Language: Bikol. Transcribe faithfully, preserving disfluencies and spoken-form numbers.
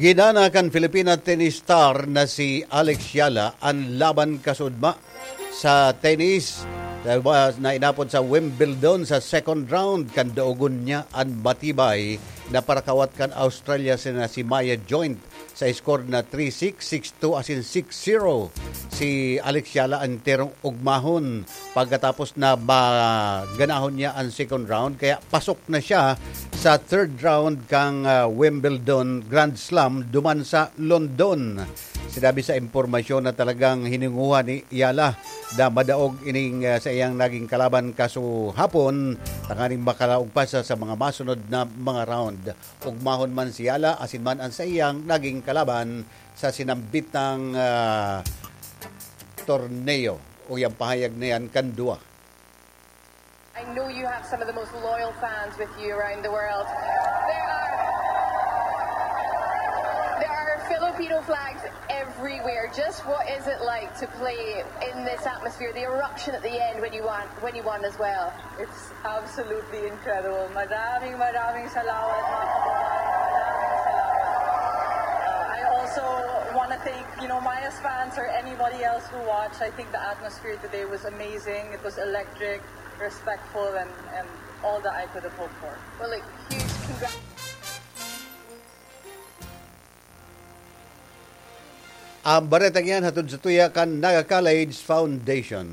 Ginana kan Filipina tennis star na si Alex Yala an laban kasudma sa tennis na inapod sa Wimbledon sa second round. Kan daogon niya an matibay na parakawat kan Australia sina si Maya Joint sa score na three six, six two asin six zero si Alex Yala an terong ugmahon pagkatapos na maganahon niya an second round, kaya pasok na siya sa third round kang, ah, Wimbledon Grand Slam duman sa London. Sinabi sa impormasyon na talagang hininguha ni Yala na madaog ining, ah, sa iyang naging kalaban kasuhapon, tanganing makalaog pa sa, sa mga masunod na mga round. Ugmahon man si Yala asin man an sa iyang naging kalaban sa sinambitang, ah, torneo. O yang pahayag na yan kan duwa. I know you have some of the most loyal fans with you around the world. There are, there are Filipino flags everywhere. Just what is it like to play in this atmosphere? The eruption at the end when you won, when you won as well. It's absolutely incredible. Maraming, maraming salamat, mga kababayan. Maraming salamat. Uh, I also want to thank, you know, Maya's fans or anybody else who watched. I think the atmosphere today was amazing. It was electric, respectful, and, and all that I could have hoped for. Well, a huge congrats. Ang baretang yan hatod sa tuya kan Naga College Foundation.